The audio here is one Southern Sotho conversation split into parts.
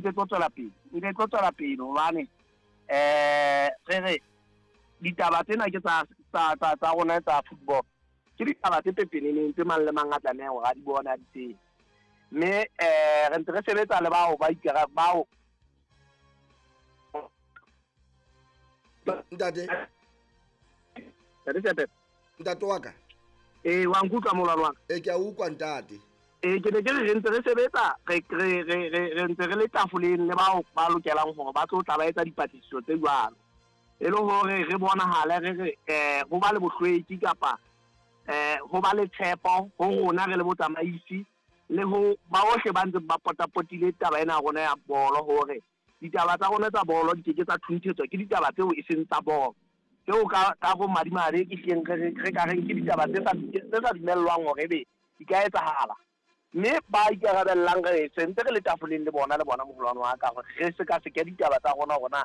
Ntse tlo tswela pele, ntse tlo tswela pele hobane re re ditaba tsena ke tsa tsa tsa tsa rona tsa football. Ke ditaba tse pepeneneng tse mang le mang a tlamehang hore a di bone, a di tsebe. Mme re ntse re sebetsa le bao ba ikara bao. Ntate. Ntate Sepepe. Ntate wa ka. Ee, wa nkutlwa molwane wa ka? Ee, ke a utlwa ntate. Ee, ke ne ke re re ntse re sebetsa, re re re re re ntse re le tafoleng le bao ba lokelang hore ba tlo tla ba etsa dipatlisiso tse jwalo. E le hore re bonahale re re ho ba le bohlweki kapa ho ba le tshepo ho rona re le botsamaisi le ho ba bohle ba ntseng ba potapotile taba ena ya rona ya bolo hore ditaba tsa rona tsa bolo di ke ke tsa thunthetswa ke ditaba tseo e seng tsa bolo. Tseo ka ka bomadimabe ke hlileng re re ka reng ke ditaba tse sa tse sa dumellwang hore ebe di ka etsahala. Mme ba ikarabellang re se ntse re le tafoleng le bona le bona moholwane wa ka hore re sekaseke ditaba tsa rona hore na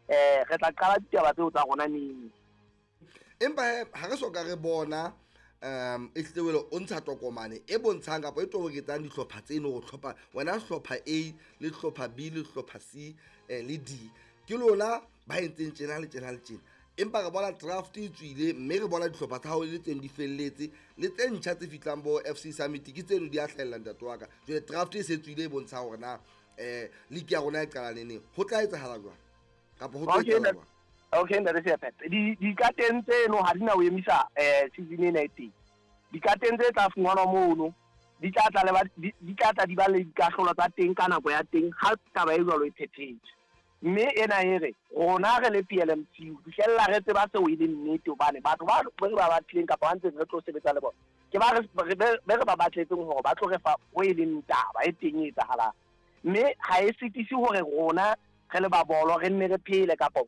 re tla qala ditaba tseo tsa rona neng. Empa he ha re soka re bona ehlile wele o ntsha tokomane e bontshang kapa e toboketsang dihlopha tseno go hlopha wena hlopha A le hlopha B le hlopha C le D ke lona ba entseng tjena le tjena le tjena. Empa re bona draft e tswile mme re bona dihlopha tsa hao le tseng di felletse le tse ntjha tse fihlang bo FC Summit ke tseno di a hlahella ntate wa ka. Jwale draft e se tswile e bontshang hore na league ya rona e qala neneng. Ho tla etsahala jwang? Kapa ho tlo etsahala jwang? Okay, ntate Seapepe. Di dikateng tseno ha di na ho emisa season ena e teng. Dikateng tse tla fumanwa mono di tla tla le ba di tla tla di ba le dikahlolo tsa teng ka nako ya teng ha taba e jwalo e phethetswe. Mme ena e re rona re le PLMC ho fihlella re tseba seo e leng nnete hobane batho ba re ba batlileng kapa ba ntseng re tlo sebetsa le bona ke ba re be re ba batletseng hore ba tlo re fa ho e leng taba e teng e etsahalang. Mme ha e sitise hore rona re le ba bolo re nne re phele kapa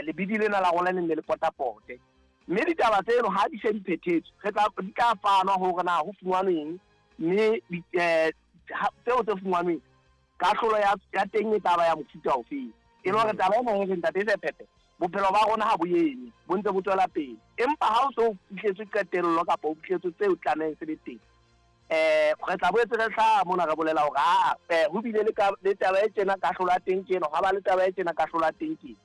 lebidi lena la rona le nne le potapote. Mme ditaba tseno ha di se di phethetswe re tla di tla fanwa hore na ho fumanweng mme tseo tse fumanweng kahlolo ya ya teng e tla ba ya mofuta ofeng. E le hore taba ena e re ntate Sephephe bophelo ba rona ha bo eme, bo ntse bo tswela pele. Empa ha o so fihletswe qetello kapa o fihletswe tseo tlamehang se be teng, re tla boetse re hlaha mona re bolela hore aa ho bile le ka le taba e tjena kahlolo ya teng ke ena, hwa ba le taba e tjena kahlolo ya teng ke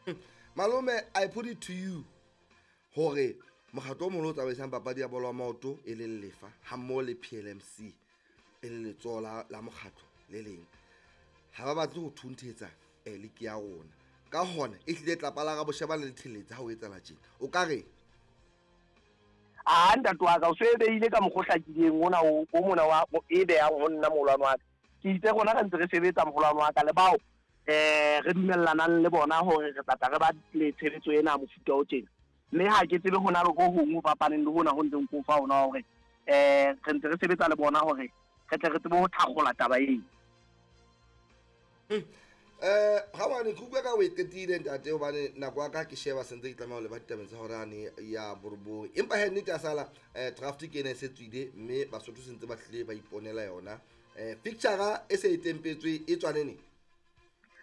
ena. Malome, I put it to you hore mokgatlo o moholo o tsamaisang papadi ya bolo ya maoto e leng Lefa hammoho le PLMC e le letsoho la, la mokgatlo le leng ha ba batle ho thunthetsa liki ya rona. Ka hona ehlile tlapa la Raboshebane le theletse ha ho etsahala tjena. O ka reng? Aa ntate wa ka o se e behile ka mokgwa o hlakileng ona o o mona wa e behang ho nna moholwane wa ka. Ke itse rona re ntse re sebetsa moholwane wa ka le bao re dumellanang le bona hore re tla tla re ba le tshebetso ena ya mofuta o tjena. Mme ha ke tsebe ho na le ho hong ho fapaneng le hona ho ntseng ke o fa hona hore re ntse re sebetsa le bona hore re tle re tsebe ho thakgola taba ena. Rangwane ke utlwa ka o e qetile ntate hobane nako ya ka ke sheba sentse ke tlameha ho leba ditabeng tsa horane ya borobong. Empa he nnete ya sala draft ke ena e se tswile mme Basotho sentse ba hlile ba iponela yona. Picture e se e tempetswe e tswa neneng?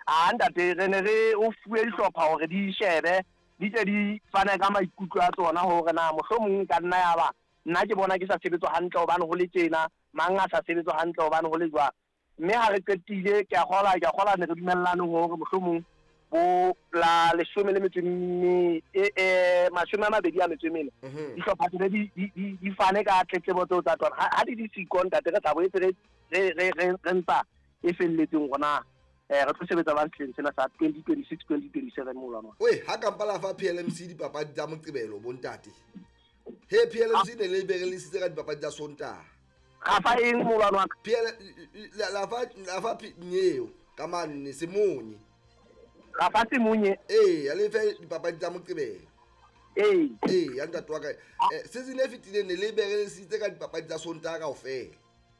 A ntate re ne re o fuwe dihlopha hore di shebe di tle di fane ka maikutlo a tsona hore na mohlomong e ka nna ya ba nna ke bona ke sa sebetswa hantle hobane ho le tjena, mang a sa sebetswa hantle hobane ho le jwang. Mme ha re qetile ke a kgola ke a kgola ne re dumellane hore mohlomong bo la leshome le metso e mme e 24 dihlopha tsene di di di di fane ka tletlebo tseo tsa tsona. Ha di di siko ntate re tla boetse re re re re re ntsha e felletseng hore na re tlo sebetsa jwang sehleng sena sa 2026 2027 moholwane wa. Oe, ha kampa la fa PLMC dipapadi tsa Moqebelo bontate. He PLMC ne le berelisitse ka dipapadi tsa Sontaha. Ra fa eng moholwane wa ka? PL la fa la fa nyeo ka manne semonye. Ra fa semonye. Ee, ya le fe dipapadi tsa Moqebelo. Ee. Ee, ya ntate wa ka. Season e fetileng ne le berelisitse ka dipapadi tsa Sontaha kaofela.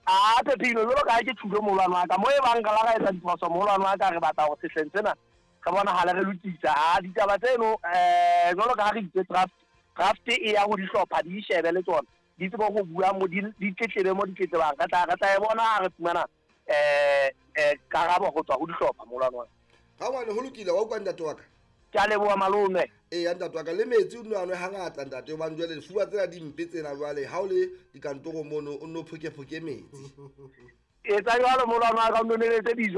A Phephino jwalo ka ha ke tjhulo moholwane wa ka mo e bang re la ra etsa diphoso moholwane wa ka re batla hore sehleng sena re bonahale re lokisa. A ditaba tseno jwalo ka ha re itse draft draft e ya ho dihlopha di shebe le tsona di tsebe ho bua mo di di tletlebe mo di tletlebang. Re tla re tla e bona ha re fumana karabo ho tswa ho dihlopha moholwane wa ka. Rangwane ho lokile wa utlwa ntate wa ka? Ke a leboha malome. Ee ntate wa ka le metsi o nno a nwe hangata ntate hobane jwale difuba tsena di mpe tsena jwale ha o le dikantorong mono o nno phokephoke metsi. Etsa jwalo moholwane wa ka o nno neletse dijo.